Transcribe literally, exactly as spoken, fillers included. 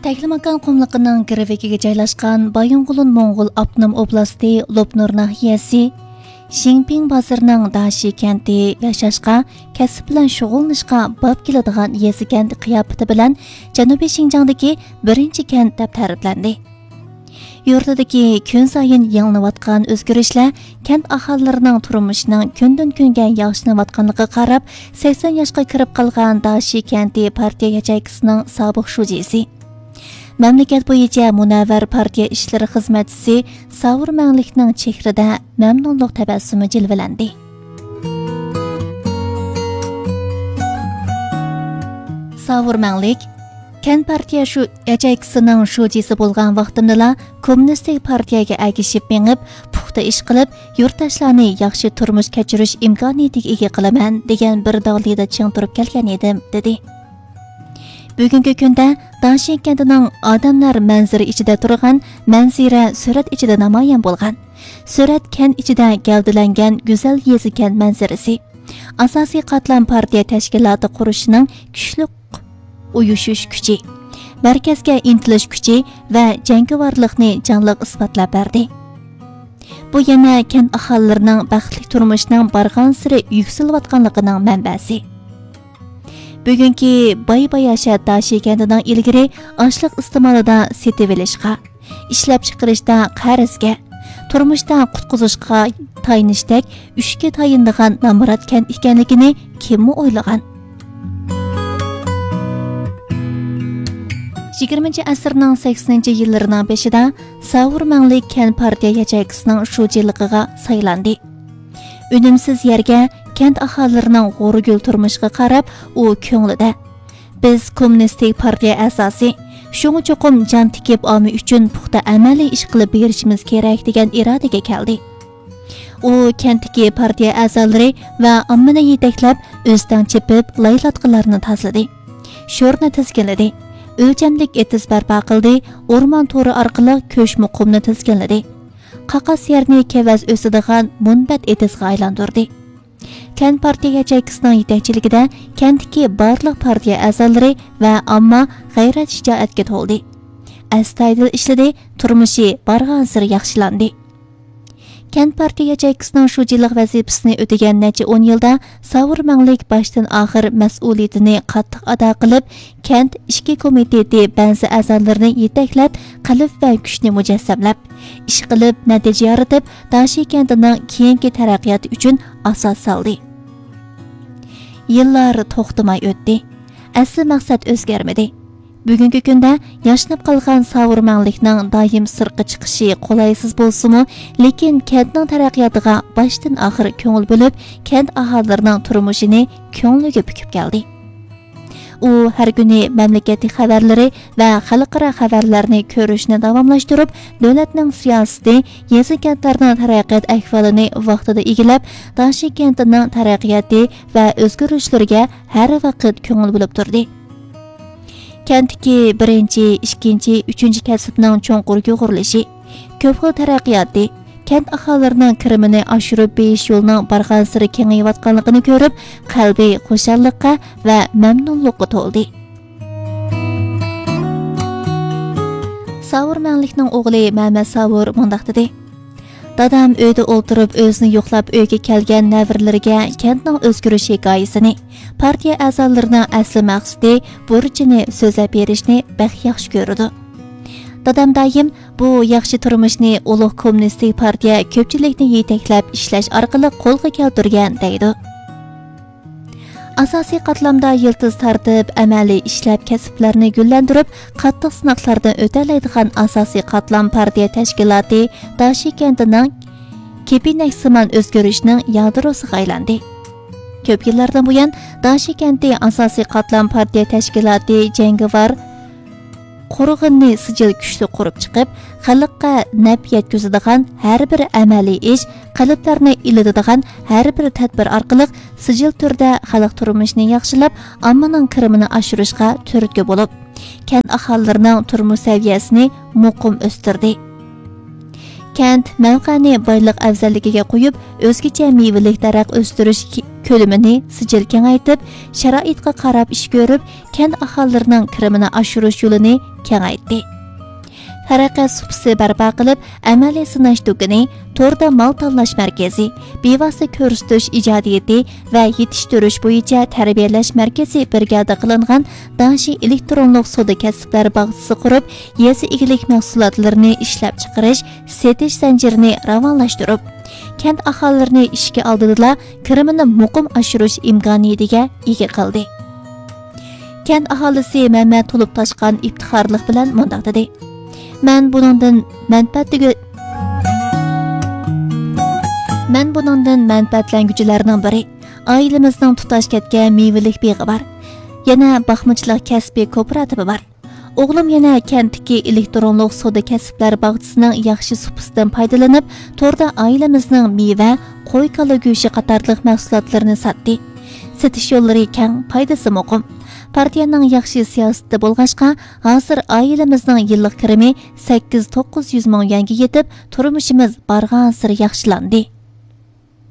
تەكلىماكان قۇملۇقىنىڭ گىرۋىكىگە جايلاشقان بايىنغولىن موڭغۇل ئاپتونوم ئوبلاستى لوپنۇر ناھىيەسى شىڭپىڭ بازىرىنىڭ داشى كەنتى ياشاشقا، كەسىپ بىلەن شۇغۇللىنىشقا باب كېلىدىغان يېزا كەنت قىياپىتى بىلەن جەنۇبىي شىنجاڭدىكى بىرىنچى كەنت دەپ تەرىپلەندى. يۇرتىدىكى كۈنسايىن يېڭىلىنىۋاتقان ئۆزگىرىشلەر كەنت ئاھالىلىرىنىڭ تۇرمۇشىنىڭ كۈندىن-كۈنگە ياخشىلىنىۋاتقانلىقىغا قاراپ، سەكسەن ياشقا كىرىپ قالغان داشى كەنتى پارتىيە ياچېيكىسىنىڭ سابىق شۇجىسى، مەملىكەت بويىچە مۇنەۋۋەر پارتىيە ئىشلىرى خىزمەتچىسى ساۋۇر مەڭلىكنىڭ چېھرىدە مەمنۇنلۇق تەبەسسۇمى جىلۋىلەندى. ساۋۇر مەڭلىك، كەنت پارتىيە شۇ ياچېيكىسىنىڭ شۇجىسى بولغان ۋاقتىمدىلا كوممۇنىستىك پارتىيەگە ئەگىشىپ مېڭىپ، پۇختا ئىش قىلىپ، يۇرتداشلارنى ياخشى تۇرمۇش كەچۈرۈش ئىمكانىيىتىگە ئىگە قىلىمەن، دېگەن بىر داغلىدا چىڭ تۇرۇپ كەلگەن ئىدىم، دېدى. بۈگۈنكى كۈندە داشى كەنتىنىڭ ئادەملەر مەنزىرە ئىچىدە تۇرغان مەنزىرە سۈرەت ئىچىدە نامايان بولغان. سۈرەت كەنت ئىچىدە گەۋدىلەنگەن گۈزەل يېزا كەنت مەنزىرىسى. ئاساسىي قاتلام پارتىيە تەشكىلاتى قۇرۇشىنىڭ كۈچلۈك ئۇيۇشۇش كۈچى، مەركەزگە ئىنتىلىش كۈچى ۋە جەڭگىۋارلىقنى جانلىق ئىسپاتلاپ بەردى. بۇ يەنە كەنت ئاھالىلىرىنىڭ بەختلىك تۇرمۇشىنىڭ بارغانسېرى يۈكسىلىۋاتقانلىقىنىڭ مەنبەسى. بۈگۈنكى باي باياشات داشى كەنتىنىڭ ئىلگىرى ئاشلىق ئىستېمالىدا سېتىۋېلىشقا، ئىشلەپچىقىرىشتا قەرزگە، تۇرمۇشتا قۇتقۇزۇشقا تايىنىشتەك ئۈچكە تايىنىدىغان نامرات كەنت ئىكەنلىكىنى كىممۇ ئويلىغان؟ يىگىرمىنچى ئەسىرنىڭ سەكسىنىنچى يىللىرىنىڭ بېشىدا ساۋۇر مەڭلىك كەنت پارتىيە ياچېيكىسىنىڭ شۇجىلىقىغا سايلاندى. ئۈنۈمسىز يەرگە كەنت ئاھالىلىرىنىڭ غورىگۈل تۇرمۇشىغا قاراپ، ئۇ كۆڭلىدە، بىز كوممۇنىستىك پارتىيە ئەزاسى، شۇڭا چوقۇم جان تىكىپ ئامما ئۈچۈن پۇختا ئەمەلىي ئىش قىلىپ بېرىشىمىز كېرەك، دېگەن ئىرادىگە كەلدى. ئۇ كەنتتىكى پارتىيە ئەزالىرى ۋە ئاممىنى يېتەكلەپ، ئۆستەڭ چېپىپ، لايلاتقىلارنى تازىلىدى. شورنى تىزگىنلىدى. ئۆلچەملىك ئېتىز بەرپا قىلدى، ئورمان تورى ئارقىلىق كۆچمە قۇمنى تىزگىنلىدى. قاقاس يەرنى كېۋەز ئۆسىدىغان مۇنبەت ئېتىزغا ئايلاندۇردى. كەنت پارتىيە ياچېيكىسىنىڭ يېتەكچىلىكىدە كەنتتىكى بارلىق پارتىيە ئەزالىرى ۋە ئامما غەيرەت-شىجائەتكە تولدى. ئەستايىدىل ئىشلىدى، تۇرمۇشى بارغانسېرى ياخشىلاندى. كەنت پارتىيە ياچېيكىسىنىڭ شۇجىلىق ۋەزىپىسىنى ئۆتىگەن نەچچە ئون يىلدا ساۋۇر مەڭلىك باشتىن ئاخىر مەسئۇلىيىتىنى قاتتىق ئادا قىلىپ، كەنت ئىچكى كومىتېتى بەزى ئەزالىرىنى يېتەكلەپ، قەلب ۋە كۈچنى مۇجەسسەملەپ، ئىش قىلىپ، نەتىجە يارىتىپ، داشى كەنتىنىڭ كېيىنكى تەرەققىياتى ئۈچۈن ئاساس سالدى. يىللار توختىماي ئۆتتى. ئەسلى مەقسەت ئۆزگەرمىدى. بۈگۈنكى كۈندە ياشىنىپ قالغان ساۋۇر مەڭلىكنىڭ دائىم سىرتقا چىقىشى قولايسىز بولسىمۇ، لېكىن كەنتنىڭ تەرەققىياتىغا باشتىن ئاخىر كۆڭۈل بۆلۈپ، كەنت ئاھالىلىرىنىڭ تۇرمۇشىنى كۆڭلىگە پۈكۈپ كەلدى. ئۇ ھەر كۈنى مەملىكەتلىك خەۋەرلىرى ۋە خەلقئارا خەۋەرلەرنى كۆرۈشنى داۋاملاشتۇرۇپ، دۆلەتنىڭ سىياسىتى، يېزا كەنتلەرنىڭ تەرەققىيات ئەھۋالىنى ۋاقتىدا ئىگىلەپ، داشى كەنتىنىڭ تەرەققىياتى ۋە ئۆزگىرىشلىرىگە ھەر ۋاقىت كۆڭۈل بۆلۈپ تۇردى. كەنتتىكى بىرىنچى، ئىككىنچى، ئۈچىنچى كەسىپنىڭ چوڭقۇر يۇغۇرۇلۇشى، كۆپ خىل تەرەققىياتى، كەنت ئاھالىلىرىنىڭ كىرىمىنى ئاشۇرۇپ بېرىش يولىنىڭ بارغانسېرى كېڭىيىۋاتقانلىقىنى كۆرۈپ، قەلبى خۇشاللىققا ۋە مەمنۇنلۇققا تولدى. ساۋۇر مەڭلىكنىڭ ئوغلى مەمەت ساۋۇر مۇنداق دېدى: دادام ئۆيدە ئولتۇرۇپ، ئۆزىنى يوقلاپ ئۆيگە كەلگەن نەۋرىلىرىگە كەنتنىڭ ئۆزگىرىش ھېكايىسىنى، پارتىيە ئەزالىرىنىڭ ئەسلى مەقسىتى، بۇرچىنى سۆزلەپ بېرىشنى بەك ياخشى كۆرىدۇ. دادام دائىم، بۇ ياخشى تۇرمۇشنى ئۇلۇغ كوممۇنىستىك پارتىيە كۆپچىلىكنى يېتەكلەپ ئىشلەش ئارقىلىق قولغا كەلتۈرگەن، دەيدۇ. ئاساسىي قاتلامدا يىلتىز تارتىپ، ئەمەلىي ئىشلەپ، كەسىپلەرنى گۈللەندۈرۈپ، قاتتىق سىناقلاردىن ئۆتەلەيدىغان ئاساسىي قاتلام پارتىيە تەشكىلاتى داشى كەنتىنىڭ كېپىنەكسىمان ئۆزگىرىشنىڭ يادروسىغا ئايلاندى. كۆپ يىللاردىن بۇيان، داشى كەنتى ئاساسىي قاتلام پارتىيە تەشكىلاتى جەڭگىۋار قۇرغىنىنى سىجىل كۈچلۈك قۇرۇپ چىقىپ، خەلققە نەپ يەتكۈزىدىغان ھەر بىر ئەمەلىي ئىش، قەلبلەرنى ئىللىتىدىغان ھەر بىر تەدبىر ئارقىلىق سىجىل تۈردە خەلق تۇرمۇشىنى ياخشىلاپ، ئاممىنىڭ كىرىمىنى ئاشۇرۇشقا تۈرتكە بولۇپ، كەنت ئاھالىلىرىنىڭ تۇرمۇش سەۋىيەسىنى مۇقىم ئۆستۈردى. كەنت مەۋقەنى بايلىق ئەۋزەللىكىگە قويۇپ، ئۆزگىچە مېۋىلىك دەرەخ ئۆستۈرۈش كۆلىمىنى سىجىل كېڭەيتىپ، شارائىتقا قاراپ ئىش كۆرۈپ، كەنت ئاھالىلىرىنىڭ كىرىمىنى ئاشۇرۇش يولىنى كېڭەيتتى. تەرەققىيات سۇپىسى بەرپا قىلىپ، ئەمەلىي سىناش دۇكىنى، توردا مال تاللاش مەركىزى، بىۋاسىتە كۆرسىتىش ئىجادىيىتى ۋە يېتىشتۈرۈش بويىچە تەربىيەلەش مەركىزى بىر گەۋدە قىلىنغان داڭشى ئېلېكترونلۇق سودا كەسىپلەر باغچىسى قۇرۇپ، يېزا ئىگىلىك مەھسۇلاتلىرىنى ئىشلەپچىقىرىش، سېتىش زەنجىرىنى راۋانلاشتۇرۇپ، كەنت ئاھالىلىرىنى ئىشىكى ئالدىدىلا كىرىمىنى مۇقىم ئاشۇرۇش ئىمكانىيىتىگە ئىگە قىلدى. كەنت ئاھالىسى مەمەت تولۇپ تاشقان ئىپتىخارلىق بىلەن مۇنداق دېدى: «مەن بۇنىڭدىن مەنپەئەتلىگۈ-، مەن بۇنىڭدىن مەنپەئەتلەنگۈچىلەرنىڭ بىرى. ئائىلىمىزنىڭ تۇتاش كەتكەن مېۋىلىك بېغى بار. يەنە باقمىچىلىق كەسپى كوپىراتىپى بار. ئوغلۇم يەنە كەنتتىكى ئېلېكترونلۇق سودا كەسىپلەر باغچىسىنىڭ ياخشى سۇپىسىدىن پايدىلىنىپ، توردا ئائىلىمىزنىڭ مېۋە، قوي، كالا گۆشى قاتارلىق مەھسۇلاتلىرىنى ساتتى. سېتىش يوللىرى كەڭ، پايدىسى مۇقىم. پارتىيەنىڭ ياخشى سىياسىتى بولغاچقا، ھازىر ئائىلىمىزنىڭ يىللىق كىرىمى سەككىز توققۇز يۈز مىڭ يۈەنگە يېتىپ، تۇرمۇشىمىز بارغانسېرى ياخشىلاندى.»